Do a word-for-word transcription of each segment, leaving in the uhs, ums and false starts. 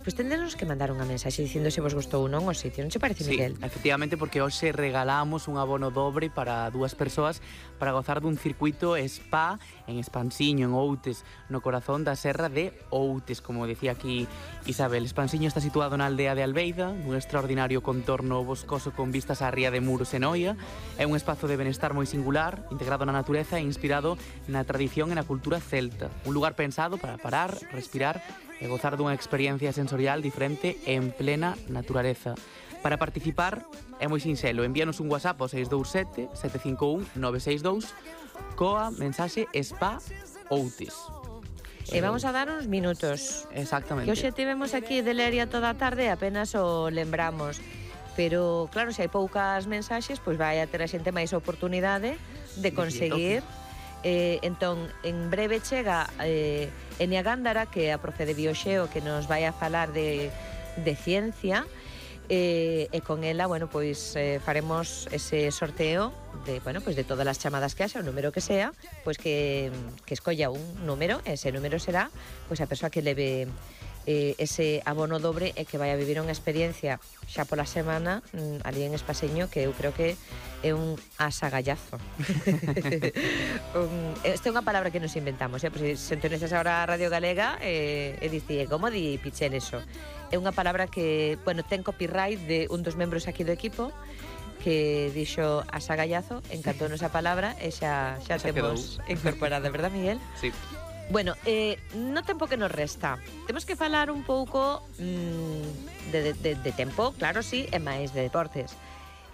Pois tendenos que mandar unha mensaxe dicindo se vos gustou ou non o sitio, non che parece, Sí, Miguel? efectivamente, porque hoxe regalamos un abono dobre para dúas persoas para gozar dun circuito spa en Espansiño, en Outes, no corazón da serra de Outes, como decía aquí Isabel. Espansiño está situado na aldea de Albeida, nun extraordinario contorno boscoso con vistas á ría de Muros e Noia. É un espazo de benestar moi singular, integrado na natureza e inspirado na tradición e na cultura celta. Un lugar pensado para parar, respirar e gozar dunha experiencia sensorial diferente en plena naturaleza. Para participar é moi sinxelo, envíanos un WhatsApp ao seis dous sete, sete cinco un, nove seis dous coa mensaxe Spa Outes. E vamos a dar uns minutos. Exactamente. Que hoxe tivemos aquí de Leria toda a tarde e apenas o lembramos. Pero, claro, se hai poucas mensaxes, pois vai a ter a xente máis oportunidade de conseguir. Eh, entón, en breve chega eh, Enia Gándara, que é a profe de Bioxeo, que nos vai a falar de, de ciencia, eh, e con ela, bueno, pois eh, faremos ese sorteo de, bueno, pois de todas as chamadas que haxa, o número que sea, pois que, que escolla un número, ese número será pois a persoa que leve eh, ese abono dobre e que vai a vivir unha experiencia xa pola semana mm, ali en Espaseño, que eu creo que é un asagallazo. un, esta é unha palabra que nos inventamos, eh? Pois se entonces agora a Radio Galega eh, e dicía, como di Pichel eso? É unha palabra que, bueno, ten copyright de un dos membros aquí do equipo que dixo asagallazo, encantounos a palabra e xa, xa, xa temos quedou incorporada, verdad, Miguel? Sí. Bueno, eh, no tempo que nos resta, temos que falar un pouco mmm, de, de, de tempo, claro, sí, e máis de deportes.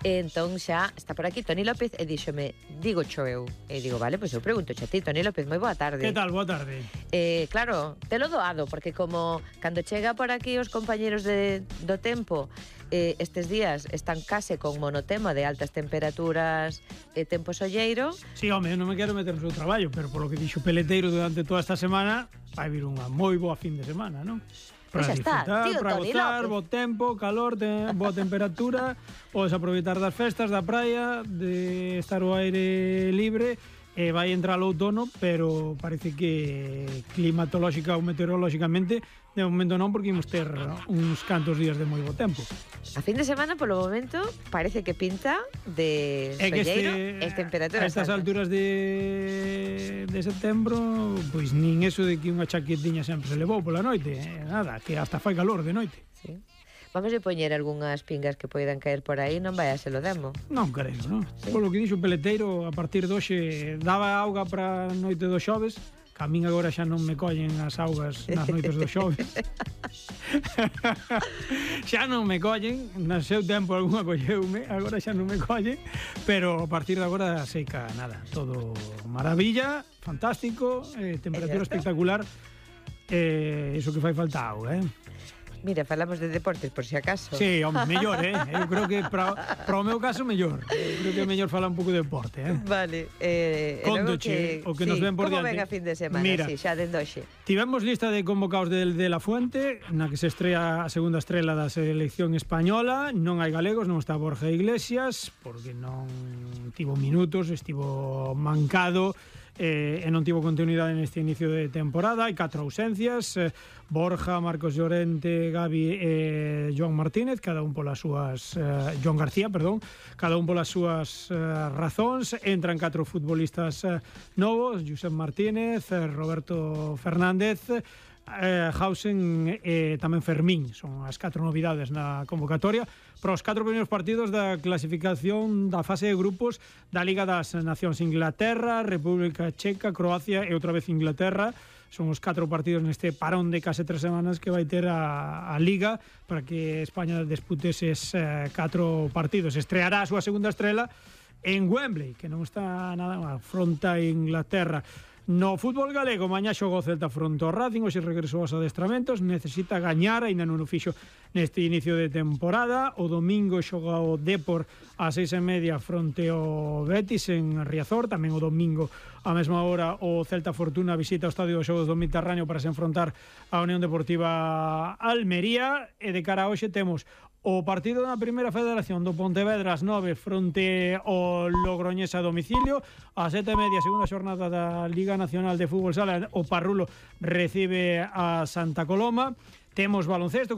E entón xa está por aquí Toni López e díxome, digo cho eu. E digo, vale, pois eu pregunto xa ti, Toni López, moi boa tarde. Que tal, boa tarde. Eh, claro, te lo doado, porque como cando chega por aquí os compañeros de, do tempo, eh, estes días están case con monotema de altas temperaturas e tempo solleiro. Sí, home, eu non me quero meter no seu traballo, pero polo que dixo Peleteiro durante toda esta semana, vai vir unha moi boa fin de semana, non? Para Pois está, disfrutar, tío, para Toni gozar, López. bo tempo, calor, te, boa temperatura, podes aproveitar das festas, da praia, de estar ao aire libre. E vai entrar o outono, pero parece que climatolóxica ou meteorolóxicamente de momento non, porque imos ter uns cantos días de moi bo tempo. A fin de semana, polo momento, parece que pinta de É que solleiro este, e temperaturas a estas altas. alturas de, de setembro, pois nin eso de que unha chaquetiña sempre se levou pola noite, eh, nada, que hasta fai calor de noite. Sí. Vamos a poñer algunhas pingas que poidan caer por aí, non vai a se lo demo. Non creo, non? Sí. Polo que dixo o Peleteiro, a partir de hoxe daba auga para a noite do xoves, que a min agora xa non me collen as augas nas noites do xoves. Xa non me collen, no seu tempo algunha colleume, agora xa non me collen, pero a partir de agora seca nada, todo maravilla, fantástico, eh, temperatura espectacular, eh, iso que fai falta auga, eh? Mira, falamos de deportes, por si acaso. Sí, home, mellor, eh? Eu creo que para, para o meu caso mellor. Eu creo que é mellor falar un pouco de deporte, eh? Vale. Eh, Contoche, o que sí, nos ven por como diante. ven a fin de semana, Mira, sí, xa dende hoxe. Tivemos lista de convocados de, de La Fuente, na que se estrella a segunda estrela da selección española. Non hai galegos, non está Borja Iglesias, porque non tivo minutos, estivo mancado, eh, e non tivo continuidade neste inicio de temporada. Hai catro ausencias, eh, Borja, Marcos Llorente, Gavi e Joan Martínez, cada un polas súas eh, Joan García, perdón, cada un polas súas eh, razóns. Entran catro futbolistas eh, novos, Josep Martínez, eh, Roberto Fernández, eh, Hausen e eh, tamén Fermín. Son as catro novidades na convocatoria para os catro primeiros partidos da clasificación da fase de grupos da Liga das Nacións. Inglaterra, República Checa, Croacia e outra vez Inglaterra. Son os catro partidos neste parón de case tres semanas que vai ter a, a Liga para que España dispute eses eh, catro partidos. Estreará a súa segunda estrela en Wembley, que non está nada mal, fronte a Inglaterra. No fútbol galego, mañá xogou o Celta fronte ao Racing, hoxe regresou aos adestramentos, necesita gañar, aínda non o fixo neste inicio de temporada. O domingo xoga o Depor a seis e media fronte ao Betis en Riazor, tamén o domingo a mesma hora o Celta Fortuna visita o Estadio dos Xogos do Mediterráneo para se enfrontar a Unión Deportiva Almería. E de cara a hoxe temos o partido na primeira federación do Pontevedra ás nove fronte ao Logroñés a domicilio. A sete e media, segunda xornada da Liga Nacional de Fútbol Sala, o Parrulo recibe a Santa Coloma. Temos baloncesto,